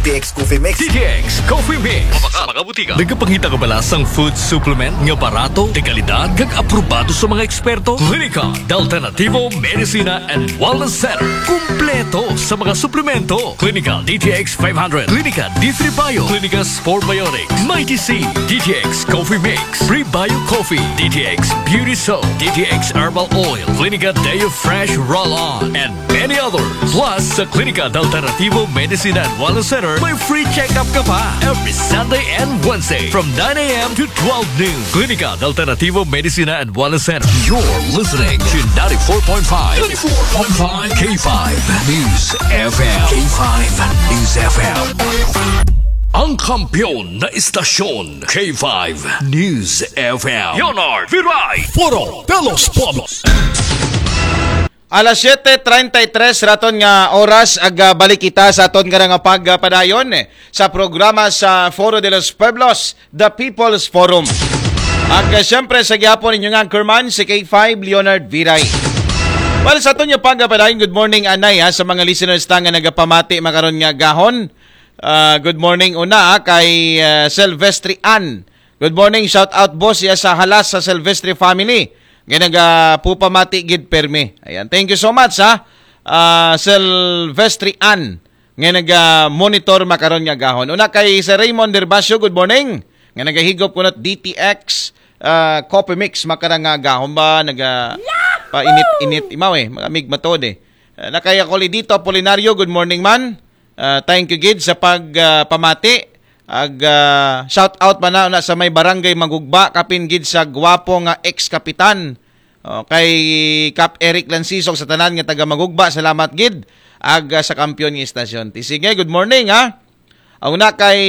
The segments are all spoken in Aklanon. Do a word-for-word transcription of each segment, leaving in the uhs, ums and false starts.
T X Coffee Mix. D T X Coffee Mix. Sa mga butika. Nagapangita ka bala sang food supplement nga barato, de kalidad, kag aprobado sa mga eksperto? Klinika de Alternativo Medicina and Wellness Center. Kumpleto sa mga suplemento. Klinika D T X five hundred, Klinika D three Bio, Klinika Sport Biotics, Mighty C, D T X Coffee Mix, Prebio Coffee, D T X Beauty Soap, D T X Herbal Oil, Klinika Deo Fresh Roll-On, and many others. Plus, sa Klinika de Alternativo Medicina and Wellness Center, may free check-up ka pa every Sunday and Wednesday from nine a.m. to twelve noon. Klinika de Alternativo Medicina and Wellness Center. You're listening to ninety-four point five, ninety-four point five K five News F M. K five News F M. Ang kampiyon na istasyon, K five News F M. Leonard Viray. Foro de los Pueblos. Alas siyete treinta y tres raton nga oras, ag, ah, balik kita sa aton nga nga pagpadayon, eh, sa programa sa Foro de los Pueblos, The People's Forum. Ag, ah, siyempre, sa gihapon ninyo nga anchorman, si K five Leonard Viray. Well, sa aton nga pagpadayon, good morning, anay, ha, sa mga listeners ta nga nagapamati makaron nga gahon. Ah, good morning una, ha, kay, ah, Silvestri Ann. Good morning, shout out, boss, iya sa Halas sa Silvestre family. Nga nagapupamati gid permi. Ayan, thank you so much, ha. Ah, Silvestre Ann, nga naga-monitor makaron nga gahon. Una kay Sir Raymond Derbacio, good morning. Nga nagahigop kunot D T X, ah, Coffee Mix makaron nga gahon ba, naga painit-init imaw, eh, mga mig matod, eh. Ah, na kay Acolidito Apolinario, good morning man. Ah, thank you gid sa pag, ah, pamati. Ag, ah, shout out man na, na sa may barangay Magugba, kapin gid sa gwapo nga ex-kapitan. O, kay Kap Eric Lansisog, sa tanan nga taga Magugba, salamat gid. Ag, ah, sa kampiyon nga istasyon. Ti sige, good morning, ha. Ang una kay,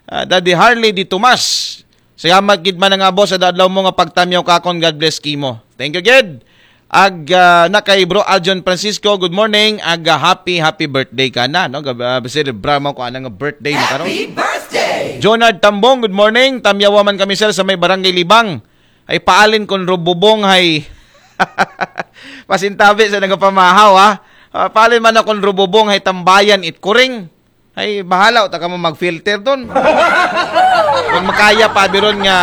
ah, Daddy Harley Di Tomas. Salamat gid man nga, boss, sa adlaw mo nga pagtamyaw ka akon. God bless kimo. Thank you gid. Ag, ah, na kay Bro Aljon Francisco, good morning. Ag, ah, happy, happy birthday ka na, no? Gab-, ah, celebra mo ko anang birthday mo karon. Happy birthday! Jonard Tambong, good morning. Tamyawa man kami, sir, sa may Barangay Libang. Ay paalin kon rububong hay pasintabi sa nagapamahaw, ha. Ah, paalin man akon rububong hay tambayan it kuring. Ay, bahala ta kamo mag-filter don. Kung makaya pa biron nga,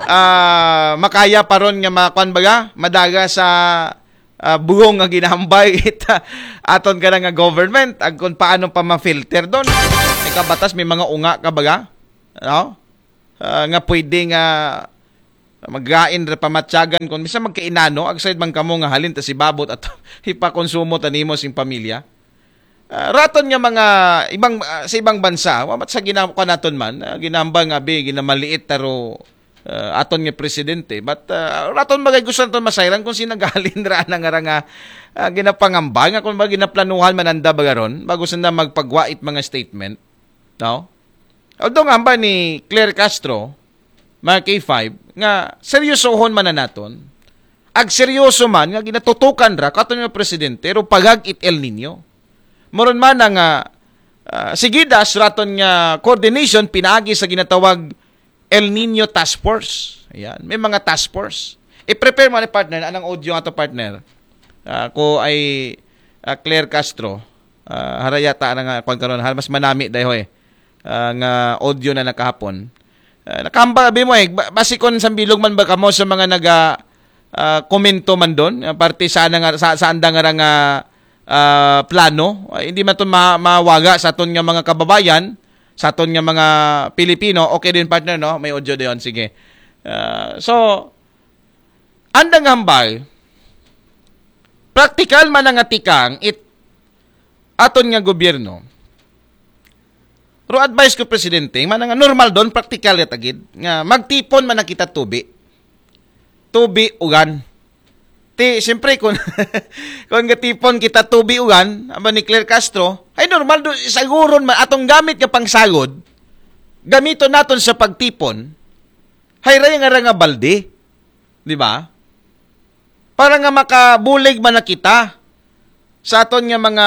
ah, makaya pa ron nga makuan baga, madaga sa, ah, bugong nga ginahambay ita aton ka nga government, ag kung paano pa ma-filter don. May kabatas, may mga unga ka baga, no? Ah, nga pwede nga magain ra pamatyagan kung bisa magkainano, agsayd man kamo nga halin ta si babot at ipakonsumo ta nimo sing pamilya. Ah, raton nga mga ibang, ah, sa ibang bansa, wa mat sa ginakuha naton man, ah, ginambal nga bi, ginamaliit taro, ah, aton nga presidente. But, ah, raton bagay gusto naton masayran kung sinagalin ra na nga ra nga, ah, ginapangamba, nga kung ba ginaplanuhan man anda bagaron, bago sanda magpagwait mga statement, no? Although nga hambal ni Claire Castro, mga K five, nga seryosohon man na naton, ag seryoso man nga ginatutukan ra katon nga presidente, pero pagag it El Nino. Moron man na nga, ah, sigidas raton nga coordination pinaagi sa ginatawag El Nino Task Force. Ayan, may mga task force. I-prepare mo ni partner, anang audio nga to, partner? Ah, ko ay, ah, Claire Castro. Ah, hara yata na nga, kwan karon, hara mas manami dayhoy. Ah, nga audio na nakahapon. Ah, nakahambal abi mo eh. Ba-, basi kon sambilog man ba kamo sa mga naga, ah, komento man don, ah, parte sa nga, sa, sa anda nga ra nga, ah, plano. Ay, hindi man to ma-, mawaga sa aton nga mga kababayan, sa aton nga mga Pilipino. Okay din, partner, no? May audio din. Sige. Ah, so, andang hambal, praktikal man nga tikang it aton nga gobyerno. Pero advice ko, presidente, man nga normal don, praktikal ya tagid, nga magtipon man na kita tubi. Tubi, ugan. Ti, siyempre, kung, kung gatipon kita tubi, ugan, aba ni Claire Castro, ay normal do, saguron man, atong gamit nga pangsagod, gamiton naton sa pagtipon, hay ray nga ra nga balde. Di ba? Para nga makabulig man na kita sa aton nga mga,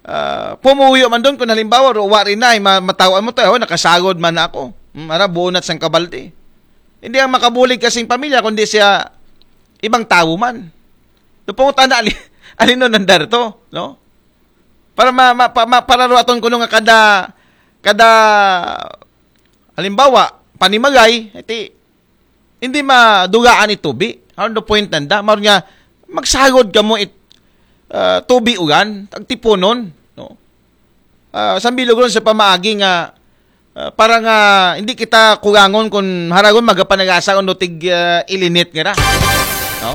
ah, pumuyo man don, kung halimbawa, ro, wa rin na, ay ma-, matawaan mo to, "Oh, nakasagod man na ako." Hmm, ara, buo na sang kabalde. Hindi ang makabulig kasing pamilya, kundi siya ibang tao man. Doon po tayo na ali-, alino nandar to, no? Para ma, ma, pa, ma para ro aton kuno nga kada, kada, halimbawa, panimagay, iti, hindi madugaan itubi. Ano the point nanda? Maron nga, magsagod kamo it, ah, tubi ugan, agtiponon, no? Ah, sambilog ron sa pamaagi nga, ah, para nga hindi kita kurangon kung haragon magapanagasa kuno tig, ah, ilinit nga na. No?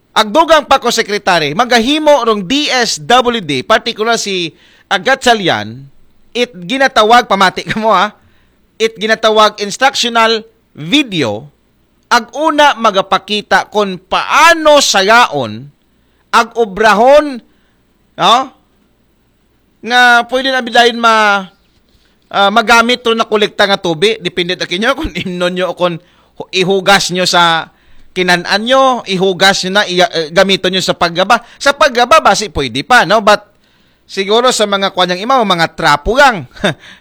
Agdugang pa ko, Secretary, magahimo rong D S W D, particular si Agatchalian, it ginatawag, pamati kamo ha, it ginatawag instructional video, ag una magapakita kung paano sayaon, ag obrahon, no? Nga pwede na bidayon ma, ah, magamit ro na kolekta nga tubi. Depende ta kinyo kung imnon nyo o kung hu-, ihugas nyo sa kinan-an nyo, ihugas nyo na, iya, eh, gamiton nyo sa paggaba. Sa paggaba, basi pwede pa, no? But siguro sa mga kwan yang imaw, mga trapo lang.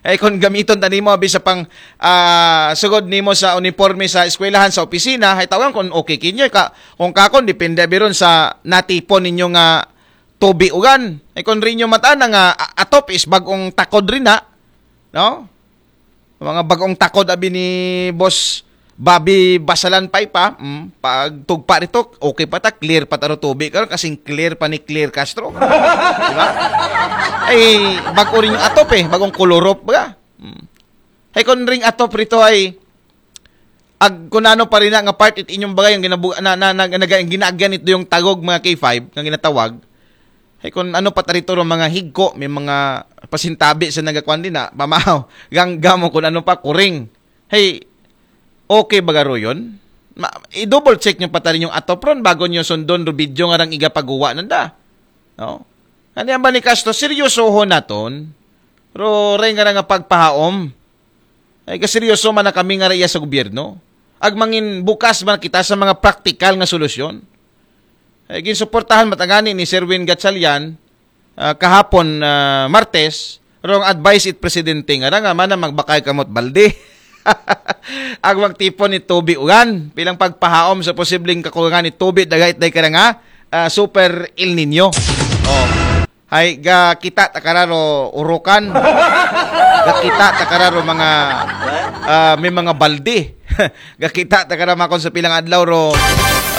Ay kung gamiton ta nimo abi sa pang, ah, sugod nimo sa uniforme sa eskwelahan, sa opisina, ay tawagan kung okay kinyo. Ka, kung kakon, depende abi ron sa natipon ninyo nga tubi ugan. Ay kung rin nyo matana nga, a-, atop is bagong takod rin na, no? Mga bagong takod abi ni Boss Bobby Basalan pa ipa, mm, pag tugpa rito, okay pa ta, clear pa ta ro tubi karon, kasing clear pa ni Clear Castro. Di ba? Ay, bago rin yung atop eh, bagong kulurop ba? Mm. Ay, kung ring atop rito ay, ag, kung ano pa rin na nga part it inyong bagay, ang ginabu-, na, na, na, na, ang ginaagyan ito yung tagog, mga K five, nga ginatawag. Ay, kung ano pa ta rito ro mga higko, may mga pasintabi sa nagakwan din na, pamahaw, gangga mo kung ano pa, kuring. Hey, okay ba garo yun? Ma, i-double check nyo pa ta rin yung atop ron bago nyo sundon ro video nga rang igapaguwa nanda. No? Ano yan ba ni Castro? Seryosohon naton. Ro, ray nga nga pagpahaom. Ay, kaseryoso man na kami nga raiya sa gobyerno. Ag mangin bukas man kita sa mga praktikal nga solusyon. Ay, ginsuportahan matangani ni Sir Win Gatchalian, ah, kahapon, ah, Martes, rong advice it presidente nga, nga mana magbakay kamot balde. Ag magtipon ni tubi ugan, bilang pagpahaom sa posibleng kakulangan ni tubi, dagay it day ka na nga, ah, super El Nino. Oh. Hay, gakita ta kararo urukan. Gakita ta kararo mga, ah, may mga balde. Gakita ta kararo makon sa pilang adlaw ro,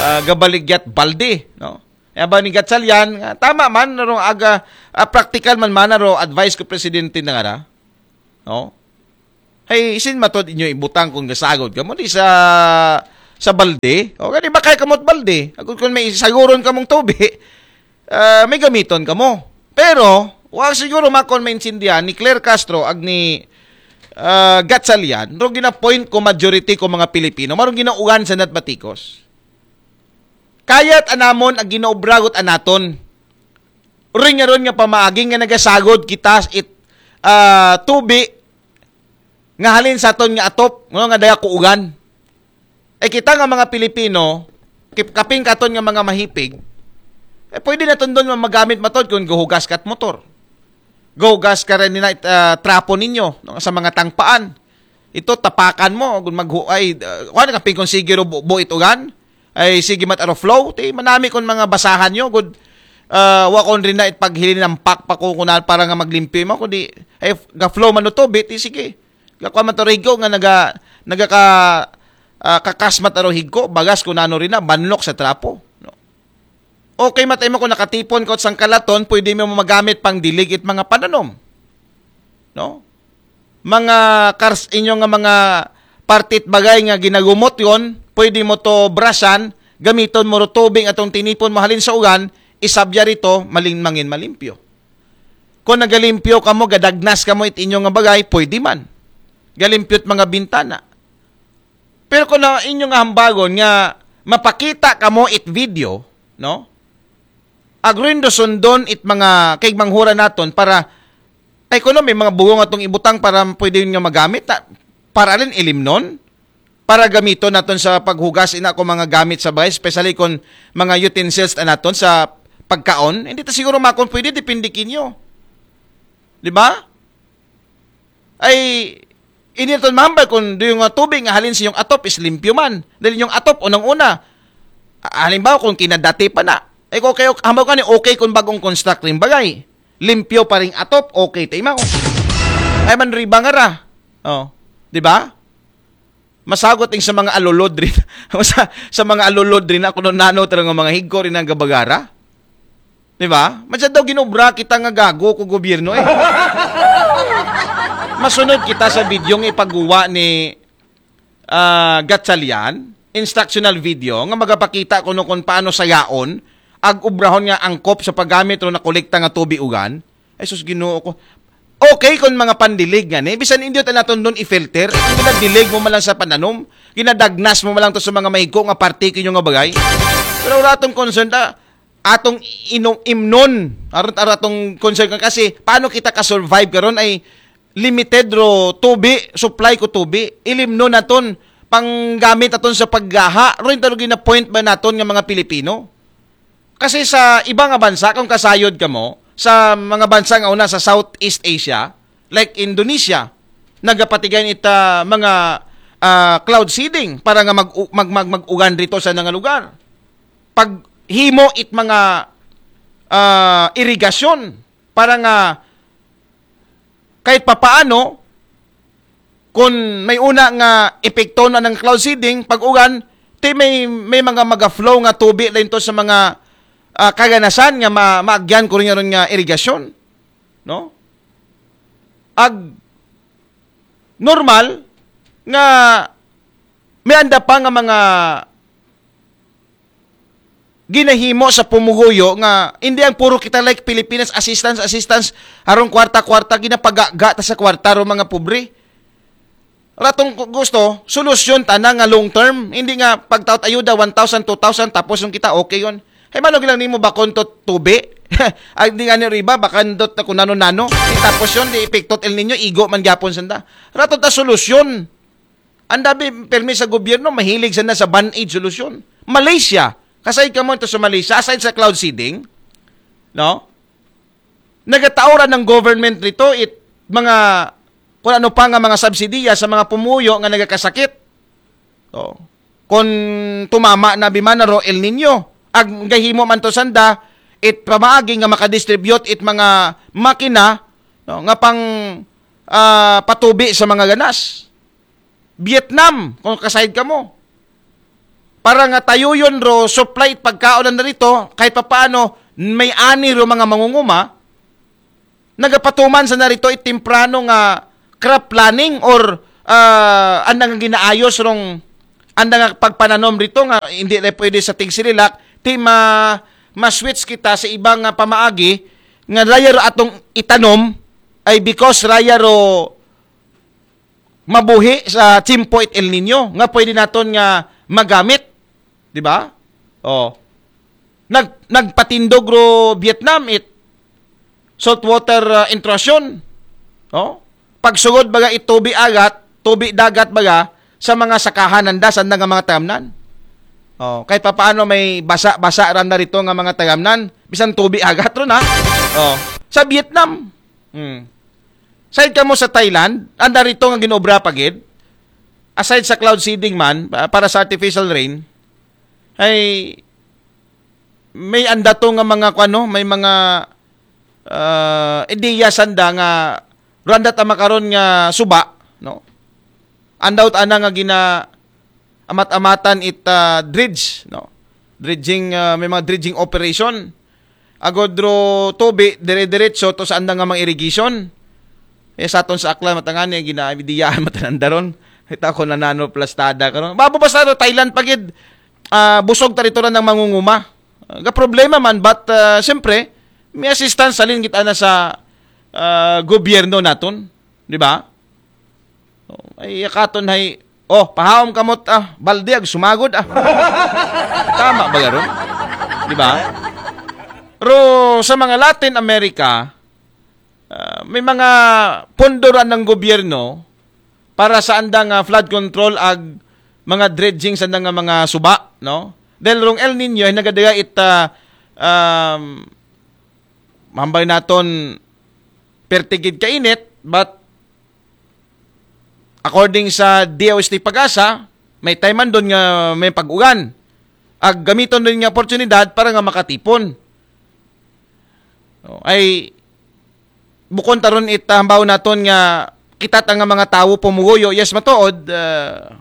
ah, gabaligyat balde, no? Aba ni Gatchalian, nga, tama man, ro aga, ah, practical man man, ro advice ko presidente na nga ra. No? Hey, isin matod inyo ibutang kung gasagod kamo di sa, sa balde. O, kani ba kay kamot balde? Agud kung may saguron kamong tubi, ah, may gamiton kamo. Pero, wa siguro makon maintindihan ni Claire Castro ag ni, ah, Gatchalian, ro ginapoint ko majority ko mga Pilipino, marong ginaugan sa natbatikos. Kayat anamon ag ginaubragot anaton. Ring nga ron nga pamaagi nga nagasagod kita it, ah, tubi nga halin sa aton nga atop, no, nga daya kuugan. Eh, kita nga mga Pilipino, kip-, kaping katon nga mga mahipig, eh, pwede na tundon nga magamit matod kung guhugas kat motor. Guhugas ka rin na, ah, trapo ninyo, no, sa mga tangpaan. Ito, tapakan mo, kung maghu-, ay, ah, kuwan, kaping kung sige ro bu-, buit ugan, ay, sige mat aro flow, ti, manami kung mga basahan nyo, good, ah, wa kon rin na it paghilin ng pak pa ko kunan para nga maglimpyo mo, kundi, ay, ga flow man no tubi, ti, sige. Ga kuwan man to rigo nga naga, naga ka, ah, kakas mat aro higko, bagas kung ano rin na, banlok sa trapo. No? Okay, matay mo kung nakatipon ka sang kalaton, pwede mo magamit pang dilig it mga pananom. No? Mga kars inyo nga mga partit bagay nga ginagumot yon, pwede mo to brasan, gamiton mo ro tubig atong tinipon mo halin sa ugan, isabya rito, maling mangin malimpyo. Kung nagalimpyo kamo, gadagnas kamo it inyo nga bagay, pwede man. Galimpyo't mga bintana. Pero kung na inyo nga hambagon nga mapakita kamo it video, no? Agruin do sundon it mga kaigmanghura naton para, ay kuno, may mga bugong atong ibutang para pwede yun nga magamit na, para alin ilimnon, para gamiton naton sa paghugas ina ko mga gamit sa bagay, especially kung mga utensils na naton sa pagkaon, hindi ta siguro makon pwede, depende kinyo. Di ba? Ay, hindi naton mahambal kung do yung, uh, tubig nga halin sa yung atop is limpyo man. Dahil yung atop, unang-una, ah, halimbawa kung kinadati pa na. Ay, okay, okay, hambal ka ni okay kung bagong construct rin bagay. limpyo pa ring atop, okay, taimaw. Ay man riba nga ra. Oh, di ba? Masagot ing sa mga alulod rin. sa, sa mga alulod rin na kung nano talaga mga higko rin ang gabagara. Di ba? Masyado daw ginobra kita nga gago ko gobyerno eh. Masunod kita sa video nga ipagawa ni ah, Gatchalian, instructional video nga magapakita kuno kung paano sayaon ag ubrahon nga angkop sa paggamit ro na kolekta nga tubi ugan. Ay sus, Ginoo ko. Okay kung mga pandilig nga ni, bisan hindi ta naton doon i-filter, ginadilig mo man lang sa pananom, ginadagnas mo man lang to sa mga mahigko nga parte kinyo nga bagay. Pero wala atong concern ta, atong ino-, imnon, aron, aron atong concern ka kasi paano kita ka-survive karon ay limited ro tubi, supply ko tubi, ilimnon naton panggamit naton sa paggaha. Ro yung talaga na point ba naton nga mga Pilipino? Kasi sa iba nga bansa, kung kasayod ka mo, sa mga bansa nga una sa Southeast Asia, like Indonesia, nagapatigay ita mga ah, cloud seeding para nga mag, mag, mag, mag-ugan rito sa nga lugar. Paghimo it mga ah, irigasyon para nga kahit papaano, kung may una nga epekto na ng cloud seeding, pag ugan, ti may, may mga maga-flow nga tubi lain to sa mga ah, kaganasan nga ma maagyan ko rin nga irigasyon. No? Ag normal nga may anda pa nga mga ginahimo sa pumuguyo nga hindi ang puro kita like Pilipinas, assistance, assistance, arong kwarta-kwarta, ginapagaga ta sa kwarta ro mga pobre. Ratong gu- gusto, solusyon tana nga long term, hindi nga pagtaot ayuda one thousand, two thousand, tapos yung kita okay yon. Hay mano gilang nimo bakon to tubi? Ay di nga ni riba, bakandot na kung nano-nano. Di tapos yon, di epektot El Nino, igo man gyapon sanda. Rato ta solusyon. Ang dami permi sa gobyerno, mahilig sana sa band-aid solusyon. Malaysia, kasay ka mo ito sa Malaysia, aside sa cloud seeding, no? Nagataoran ng government rito it mga kung ano pa nga mga subsidiya sa mga pumuyo nga nagakasakit. Oh. Kung tumama na bimana ro El Nino, ag gahimo man to sanda, it pamaagi nga makadistribute it mga makina, no, nga pang ah, patubi sa mga ganas. Vietnam, kung kasayod ka mo. Para nga tayuyon ro supply it pagkaon na rito, kahit papaano, may ani ro mga mangunguma, nagapatuman sa narito it temprano nga crop planning or ah, anda nga ginaayos rong anda nga pagpananom rito nga hindi na pwede sa tigsililak, ti ma ma-switch kita sa ibang nga pamaagi nga raya ro atong itanom ay because raya ro mabuhi sa tiyempo it El Nino nga pwede naton nga magamit, di ba? Oh. Nag nagpatindog ro Vietnam it saltwater ah, intrusion. Oh. Pagsugod baga it tubi agat, tubi dagat baga sa mga sakahan nanda sa nga mga tagamnan. Oh, kahit papaano may basa-basa ran na rito nga mga tagamnan, bisan tubi agat ron ha. Oh, sa Vietnam. Hmm. Side ka mo sa Thailand, anda rito nga ginobra pa gid. Aside sa cloud seeding man, pa- para sa artificial rain, ay may anda to nga mga kuano, may mga ah, ideya sanda nga randa ta makaron nga suba, no? Andaw ta ana nga gina amat-amatan it ah, dredge, no? Dredging ah, may mga dredging operation. Agod ro tubi dire-diretso to sa andang nga mga irrigation. Eh sa aton sa Aklan matangani ginabidiyaan matananda ron. Kita ko na nano plastada karon. Babo basta ro Thailand pagid ah, busog ta rito ng mangunguma. Ah, ga problema man but ah, siyempre may assistance salin kita na sa ah, gobyerno naton, di ba? Oh, ay yakaton hay oh, pahaom kamot ah, balde ag sumagod ah. Tama ba garon? Di ba? Pero sa mga Latin America, ah, may mga pondo ra ng gobyerno para sa andang ah, flood control ag mga dredging sa andang ah, mga suba, no? Dahil rong El Nino ay nagadaga it ah, um, mambay naton pertigid kainit, but according sa D O S T Pag-asa, may time man doon nga may pag-ugan. Ag gamiton din nga oportunidad para nga makatipon. No, ay bukon taron it, ah, hambaw naton nga kita ta nga mga tawo pumuguyo, yes, matuod, ah,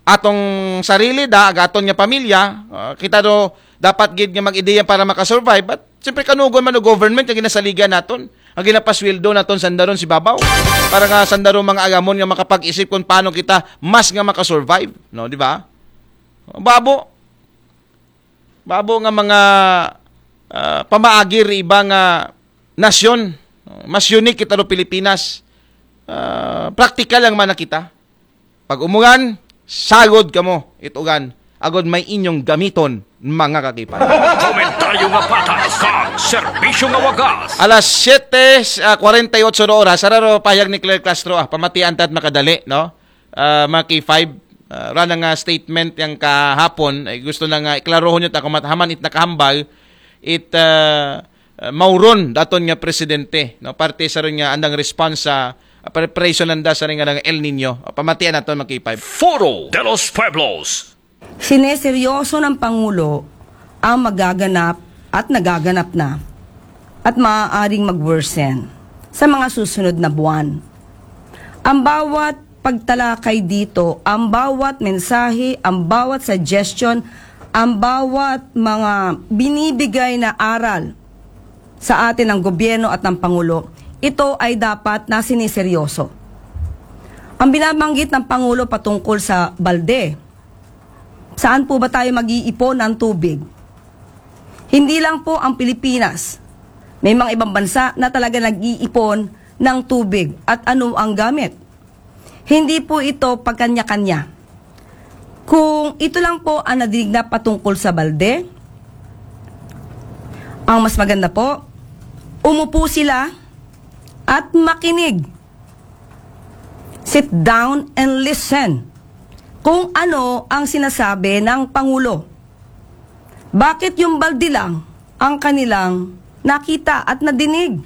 atong sarili da, ag aton nga pamilya, ah, kita do dapat gid nga mag-ideya para makasurvive. But siyempre, kanugon man o government nga ginasaligan naton, ang ginapasweldo naton sandaron si babaw, para nga sandaron mga agamon nga makapag-isip kung paano kita mas nga makasurvive, no, di ba? Babo, babo nga mga, ah, pamaagi ri iba nga nasyon, no? Mas unique kita ro Pilipinas. Ah, practical lang man na kita. Pag umugan, sagod kamo, itugan. Agod may inyong gamiton, mga kakipay. Komentaryo nga patas, kag serbisyo nga wagas. Alas siyete, ah, kwarenta y otso na oras, ara ro pahayag ni Claire Castro, ah, pamatian ta at makadali, no? Ah, mga K five, ah, ra na nga statement yang kahapon, ay gusto na nga iklarohon yun, ako matahaman it nakahambal, it, ah, ah, mauron daton nga presidente, no? Parte sa rin nga andang response sa, ah, preparation nanda sa rin nga ng El Nino. Ah, pamatian naton, mga K five. Foro de los Pueblos. Sineseryoso ng Pangulo ang magaganap at nagaganap na at maaaring mag-worsen sa mga susunod na buwan. Ang bawat pagtalakay dito, ang bawat mensahe, ang bawat suggestion, ang bawat mga binibigay na aral sa atin ng gobyerno at ng Pangulo, ito ay dapat na sineseryoso. Ang binabanggit ng Pangulo patungkol sa balde, saan po ba tayo mag-iipon ng tubig? Hindi lang po ang Pilipinas. May mga ibang bansa na talaga nag-iipon ng tubig at ano ang gamit. Hindi po ito pagkanya-kanya. Kung ito lang po ang nadinig na patungkol sa balde, ang mas maganda po, umupo sila at makinig. Sit down and listen kung ano ang sinasabi ng Pangulo. Bakit yung balde lang ang kanilang nakita at nadinig?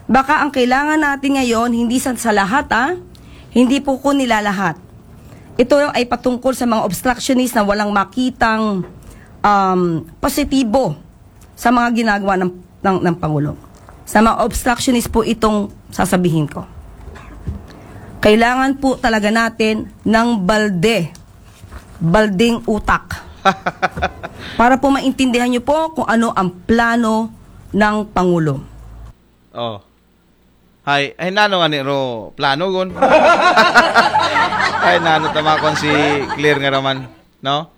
Baka ang kailangan natin ngayon, hindi sa, sa lahat, ah, hindi po ko nilalahat. Ito ay patungkol sa mga obstructionist na walang makitang, um, positibo sa mga ginagawa ng, ng, ng Pangulo. Sa mga obstructionist po itong sasabihin ko. Kailangan po talaga natin ng balde, balding utak. Para po maintindihan nyo po kung ano ang plano ng Pangulo. Oh. Hay, ay nano nga ni ro plano gon. Ay nano tamakon si Clear nga raman, no?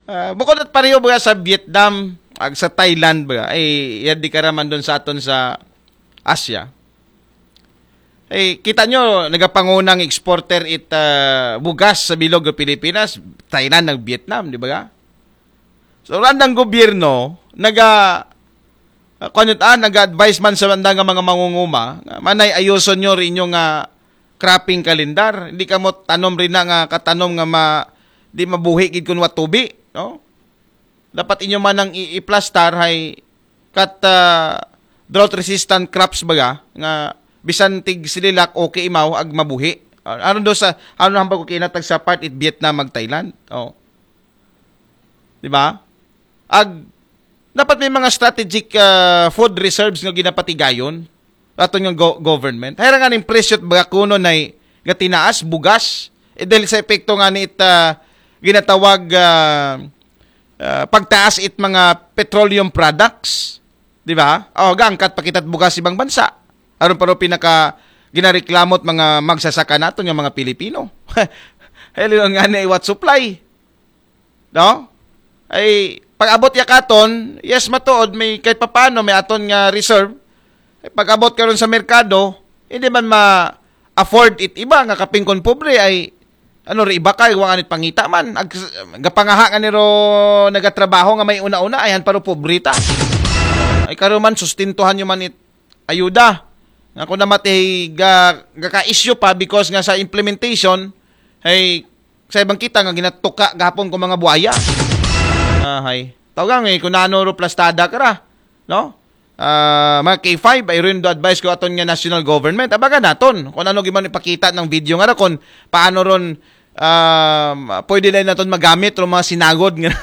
Ah, bukod at pareho ba sa Vietnam, ag sa Thailand ba? Ay, yan di ka raman doon sa aton sa Asia. Eh, kita nyo, nagapangunang exporter it, ah, bugas sa bilog ng Pilipinas, Thailand, ng Vietnam, di ba? So, randang gobyerno, naga, ah, kuwan yun, ah, naga-advise man sa randang nga mga mangunguma, nga manay ayuson nyo rin yung, ah, cropping calendar. Hindi ka mo tanom rin na nga katanom nga ma, di mabuhi gid kun wa tubi, no? Dapat inyo man ang i-, iplastar hay kat, ah, drought resistant crops baga nga bisan tig sililak okay imaw ag mabuhi. Ah, aron do sa, ano hambal ko kinatag sa part it Vietnam mag Thailand. Oh. Di ba? Ag dapat may mga strategic, ah, food reserves nga ginapatigayon aton nga go-, government. Hayra nga ning presyo baga kuno nay gatinaas bugas. Eh, dahil sa epekto nga ni it, ah, ginatawag, ah, ah, pagtaas it mga petroleum products, di ba? O, gaangkat pa kita't bugas ibang bansa. Aron pa ro pinaka ginareklamo't mga magsasaka naton nga mga Pilipino. Hello nga ni what supply. No? Ay, pag-abot ya katon, yes, matuod, may kahit papano, may aton nga reserve. Ay, pag-abot karon sa merkado, hindi man ma-afford it iba nga kaping kon pobre ay ano ri iba kay wa nga nit pangita man. Ag-, gapangaha nga niro nagatrabaho nga may una-una, ay han paro pobre ta. Ay karon man, sustintuhan nyo man it ayuda. Nga kung namatay ga, gaka-issue pa because nga sa implementation, ay sa ibang kita nga ginatuka gahapon ko mga buhaya. Ah, hay. Tawag nga eh, kung ano ro plastada ka ra, no? Ah, mga K five, ay rin do advice ko aton nga national government. Abaga naton, kung ano giman ipakita ng video nga ra, kung paano ron, um, pwede na naton magamit ro mga sinagod nga,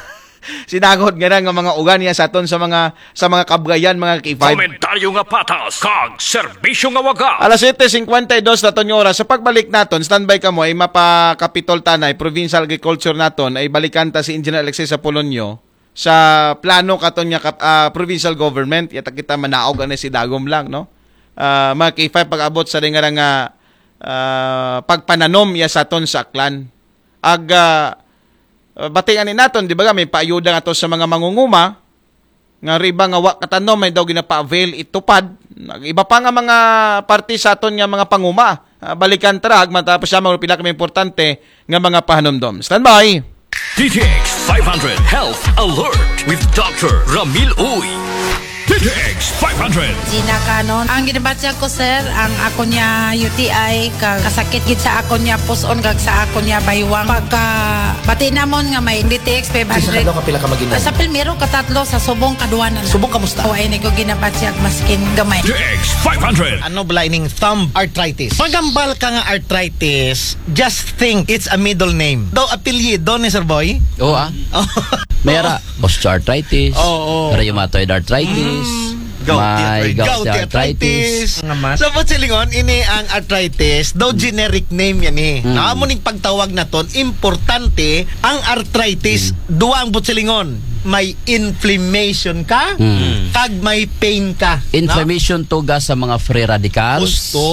Sinagod nga na nga mga ugan niya sa aton sa mga sa mga kabugayan, mga K five. Komentaryo nga patas, kag serbisyo nga waga. Alas siyete singkwenta y dos na to nga oras. Sa pagbalik naton, standby kamo, ay mapakapitol tanay, provincial agriculture naton, ay balikan ta si Engineer Alexis Apolonio sa plano katon nga kap- ah, provincial government. Yata kita manaog ani si Dagom lang, no? Ah, mga K five, pag-abot sa ringa nga ah, pagpananom ya sa aton sa Aklan. Ag ah, bati ani naton, di ba, may paayuda nga to sa mga mangunguma, nga riba nga wa katanom, may daw ginapa-avail itupad. Nag-, iba pa nga mga parte sa aton nga mga panguma. Ah, balikan tara, ag matapos siya, mga pila kami importante nga mga pahanumdom. Standby! D T X five hundred Health Alert with Doctor Ramil Uy. D T X five hundred. Gina Canon. Ang ginabatyag ko, sir, ang ako niya U T I, ka-, kasakit gid sa ako niya puson, kag sa ako niya baywang. Pagka, bati namon nga may D T X Isa ka five hundred. Daw kapila ka maginang? Sa primero, katatlo, sa subong, kaduwa na na. Subong, kamusta? O, ay, ni ko ginabatyag, maskin gamay. D T X five hundred. Ano bala ining thumb arthritis? Magambal ka nga arthritis, just think it's a middle name. Daw apelyido ni Sir Boy? Oo, ah. Oh. May ara, osteoarthritis, Oo. rheumatoid arthritis, Mm. Gouty may arthritis. Gouty Gouty arthritis. arthritis. Nga mas. So, Butchilingon, ini ang arthritis, daw generic name yan eh. Mm. Na amo ning pagtawag naton, importante ang arthritis, Mm. duwa ang Butchilingon. May inflammation ka, Mm. kag may pain ka. No? Inflammation tuga sa mga free radicals. Gusto.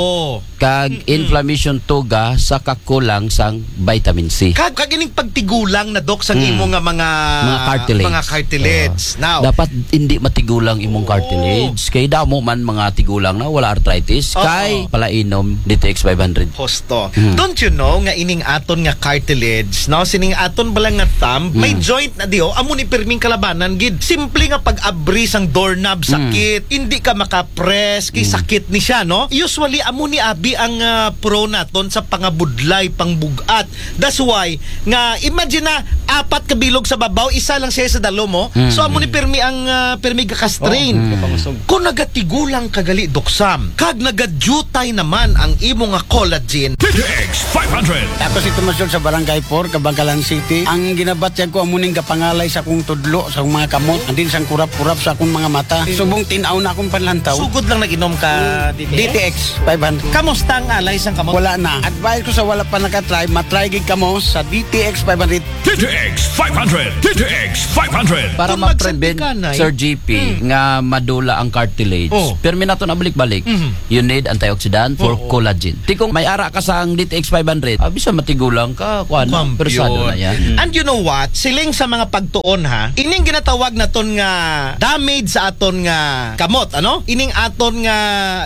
Kag Mm-mm. inflammation tuga sa kakulang sang vitamin C. Kag, kag ining pagtigulang na, Dok, sa Mm. imo nga mga Mga cartilage. mga cartilage. Oo. Now, Dapat hindi matigulang imong Oo. cartilage. Kay damo man mga tigulang na wala arthritis. Oo. Kay palainom D T X five hundred. Husto. Mm. Don't you know nga ining aton nga cartilage, no? Sining aton bala nga thumb, may Mm. joint na diyo. Amo ni pirming kalabanan gid. Simple nga pag-abri sang doorknob, Mm. sakit. Hindi ka maka-press, kay Mm. sakit ni siya, no? Usually, amo ni abi ang ah, pro naton sa pangabudlay, pangbug-at. That's why, nga, imagine na, apat ka bilog sa babaw, isa lang siya sa dalom, oh. Mm. So, amo ni pirmi ang ah, pirmi gaka-strain. Oh, Mm. kapangasog. Kung nagatigulang ka gali, Doc Sam, kag nagadutay naman ang imo nga collagen. D T X five hundred. Ako si Tomas George sa Barangay four, Kabangkalan City. Ang ginabatyag ko, amo ning gapangalay sa akong tudlo, sa akong mga kamot, and then sang kurap-kurap sa akong mga mata. Subong tin-aw na akong panlantaw. Sugod lang nag-inom ka, D T X? D T X five hundred. Kamusta ang alay sang kamot? Wala na. Advice ko sa wala pa nakatry, matry gid kamo sa D T X five hundred. D T X five hundred. D T X five hundred. Para Kung ma-prevent, magsandikanay. Sir G P, Hmm. nga madula ang cartilage, Oh. pirmi nato na balik-balik. Mhm. You need antioxidant for Oo. collagen. Ti kung may ara ka sang D T X five hundred, ah, bisa matigulang ka, kuan, Kampyon. Persado na yan. And you know what? Siling sa mga pagtuon, ha, ining ginatawag naton nga damage sa aton nga kamot, ano? Ining aton nga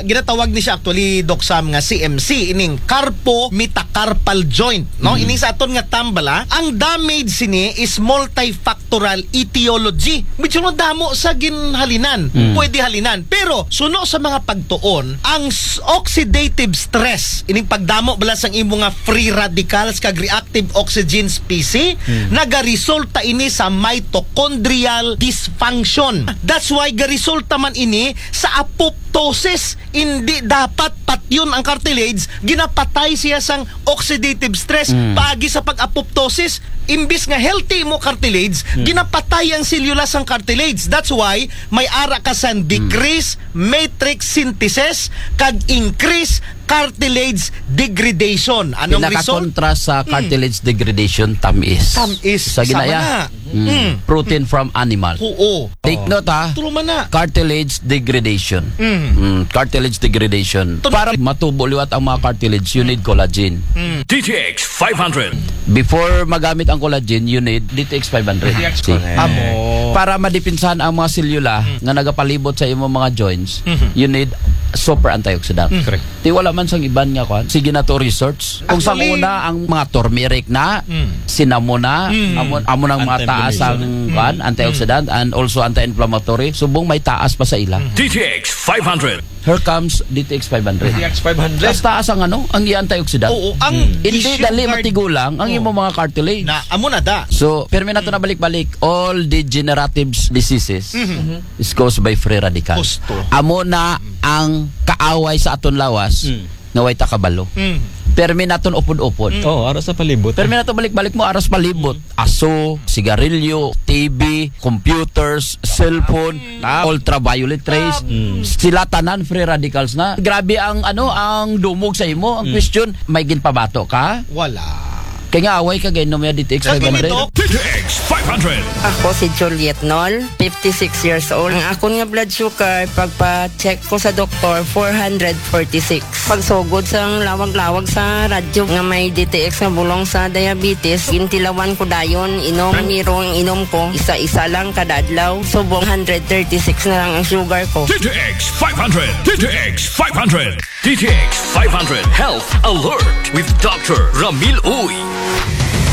ginatawag ni siya actually, Doc Sam, nga C M C, ining carpo metacarpal joint, no? Mm. Ining sa aton nga thumb bala, ang damage sini is multifactorial etiology. Medyo madamo sa ginhalinan. Mm. Pwede halinan. Pero, suno sa mga pagtuon, ang s- oxidative stress, ining pagdamo bala sang imo nga free radicals kag reactive oxygen species, Hmm. nagaresulta ini sa mitochondrial dysfunction. That's why garesulta man ini sa apoptosis. Hindi dapat patyon ang cartilage, ginapatay siya sang oxidative stress, Hmm. paagi sa pag-apoptosis. Imbis nga healthy mo cartilage, Hmm. ginapatay ang selula sang cartilage. That's why may ara ka sang Hmm. decrease matrix synthesis kag increase cartilage degradation. Anong result? Pinakakontra sa Mm. cartilage degradation, tamis. Tamis. Sa Sama ginaya, na. Mm. Mm. Protein from animal. Oo. Take Oh. note, ha. True man na. Cartilage degradation. Mm. Mm, cartilage degradation. Ito- Para matubo liwat ang mga cartilage, you need collagen. Mm. D T X five hundred. Before magamit ang collagen, you need D T X five hundred. D T X See? five hundred. Amo. Para madipinsahan ang mga selula Mm. nga nagapalibot sa imong mga joints, Mhm. you need super antioxidant. Mm. Correct. Ti wala man sang iban nga kwan. Sige na to research. Kung sa Actually, una, ang mga turmeric na, Mm. cinnamon na, Mm. amo, amo nang mga taas ang Anti-inflammatory. kwan, Mm. antioxidant, and also anti-inflammatory. Subong may taas pa sa ila. Mm. D T X five hundred. Here comes D T X five hundred. D T X five hundred. Mas taas ang ano, ang antioxidant. Oo, ang Mm. Hindi tissue dali guard. matigulang ang Oo. imong mga cartilage. Na, amo na da. So, pirmi nato na balik-balik, all degenerative diseases Mhm. is caused by free radicals. Gusto. Amo na ang kaaway sa aton lawas Mm. nga way ta kabalo. Mm. Permi naton upod-upod. Oh, ara sa palibot. Permi naton balik-balik mo ara sa palibot. Aso, sigarilyo, T V, computers, cellphone, ultraviolet rays. Sila tanan free radicals na. Grabe ang ano, ang dumog sa imo. Ang question, may ginpabato ka? Wala. Kaya nga away ka gainom ya D T X five hundred. D T X five hundred. Ako si Juliet Nol, fifty-six years old. Ang akon nga blood sugar, pagpa-check ko sa doktor, four hundred forty-six. Pagsugod sa lawag-lawag sa radyo nga may D T X nga bulong sa diabetes, gintilawan ko dayon, inom, niro ang inom ko, isa-isa lang kada adlaw. Subong one hundred thirty-six na lang ang sugar ko. D T X five hundred. D T X five hundred. D T X five hundred Health Alert with Doctor Ramil Uy.